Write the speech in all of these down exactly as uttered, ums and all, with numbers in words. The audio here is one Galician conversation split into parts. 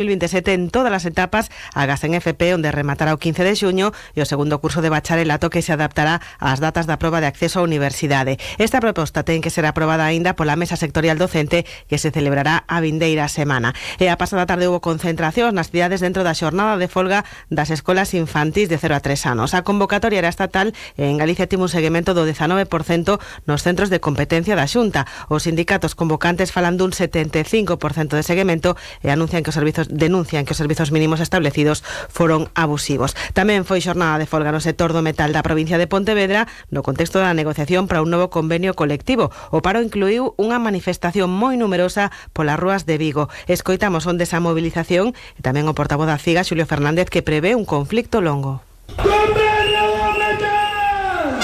dos mil veintisiete en todas as etapas, agás en F P, onde rematará o quince de xuño, e o segundo curso de bacharelato que se adaptará ás datas da proba de acceso á universidade. Esta proposta ten que ser aprobada aínda pola Mesa Sectorial Docente, que se celebrará a vindeira semana. E a pasada tarde houve concentracións nas cidades dentro da xornada de folga das escolas infantís de cero a tres anos. A convocatoria era estatal e en Galicia tivo un seguimento do dezanove por cento nos centros de competencia da Xunta. Os sindicatos convocantes falan dun setenta e cinco por cento de seguimento e anuncian que os servizos denuncian que os servizos mínimos establecidos foron abusivos. Tamén foi xornada de folga no sector do metal da provincia de Pontevedra no contexto da negociación para un novo convenio colectivo. O paro incluiu unha manifestación moi numerosa polas rúas de Vigo. Escoitamos onde esa movilización e tamén o portavoz da C I G A, Xulio Fernández, que prevé un conflicto longo. ¡Convenio do metal!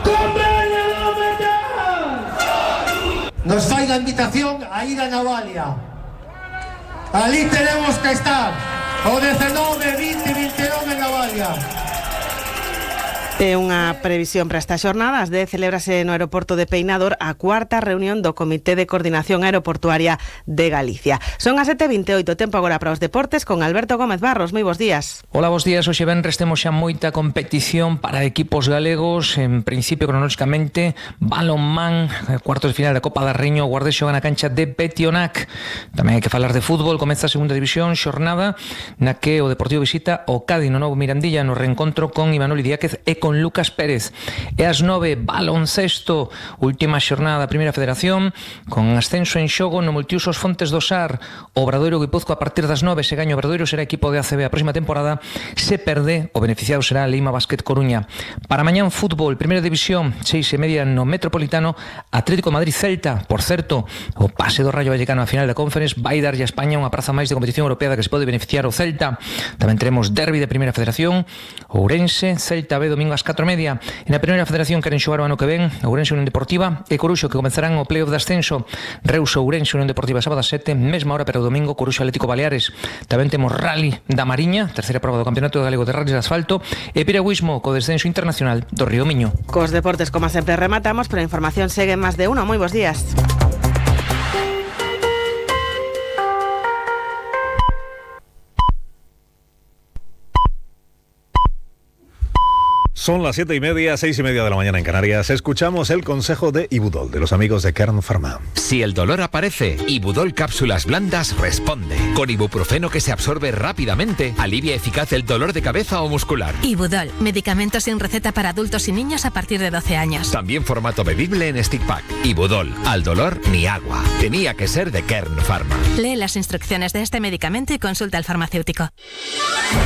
¡Convenio do metal! Nos fai a invitación a ir a Navalia. Ali tenemos que estar o diecinueve, vinte, vinte e nove en Navalia. É unha previsión para esta xornada. Ás dez celébrase no aeroporto de Peinador a cuarta reunión do Comité de Coordinación Aeroportuaria de Galicia. Son as sete e vinte e oito, tempo agora para os deportes con Alberto Gómez Barros. Moi bons días. Hola, bons días. Hoxe venres temos xa moita competición para equipos galegos. En principio, cronolóxicamente, balonmán, cuartos de final da Copa da Raíña, o Guardés xoga na cancha de Petionac. Tamén hai que falar de fútbol. Comeza a segunda división, xornada na que o Deportivo visita o Cádiz no novo Mirandilla no reencontro con Imanol Idiáquez e con Lucas Pérez. E ás nove, baloncesto, última xornada da Primeira Federación, con ascenso en xogo no Multiusos Fontes do Sar. O Obradoiro Guipúzcoa a partir das nove, se gaña o Obradoiro será equipo de A C B a próxima temporada. Se perde, o beneficiado será a Lima Basket Coruña. Para mañán, fútbol, Primeira División, seis e media no Metropolitano, Atlético Madrid Celta. Por certo, o pase do Rayo Vallecano a final da Conference vai darlle a España unha praza máis de competición europea da que se pode beneficiar o Celta. Tamén teremos derbi de Primeira Federación, Ourense, Celta B, domingo ás catro e media. E na Primeira Federación queren xogar o ano que ven Ourense Unión Deportiva e Coruxo, que comenzarán o playoff de ascenso. Reuso Ourense Unión Deportiva sábado ás sete, mesma hora, pero o domingo Coruxo Atlético Baleares. Tamén temos Rally da Mariña, terceira prova do Campeonato Galego de Rallys de Asfalto, e piragüismo co descenso internacional do Río Miño. Cos deportes, como sempre, rematamos, pero a información segue en máis de uno. Moi bons días. Son las siete y media, seis y media de la mañana en Canarias. Escuchamos el consejo de Ibudol, de los amigos de Kern Pharma. Si el dolor aparece, Ibudol Cápsulas Blandas responde. Con ibuprofeno que se absorbe rápidamente, alivia eficaz el dolor de cabeza o muscular. Ibudol, medicamento sin receta para adultos y niños a partir de doce años. También formato bebible en stick pack. Ibudol, al dolor ni agua. Tenía que ser de Kern Pharma. Lee las instrucciones de este medicamento y consulta al farmacéutico.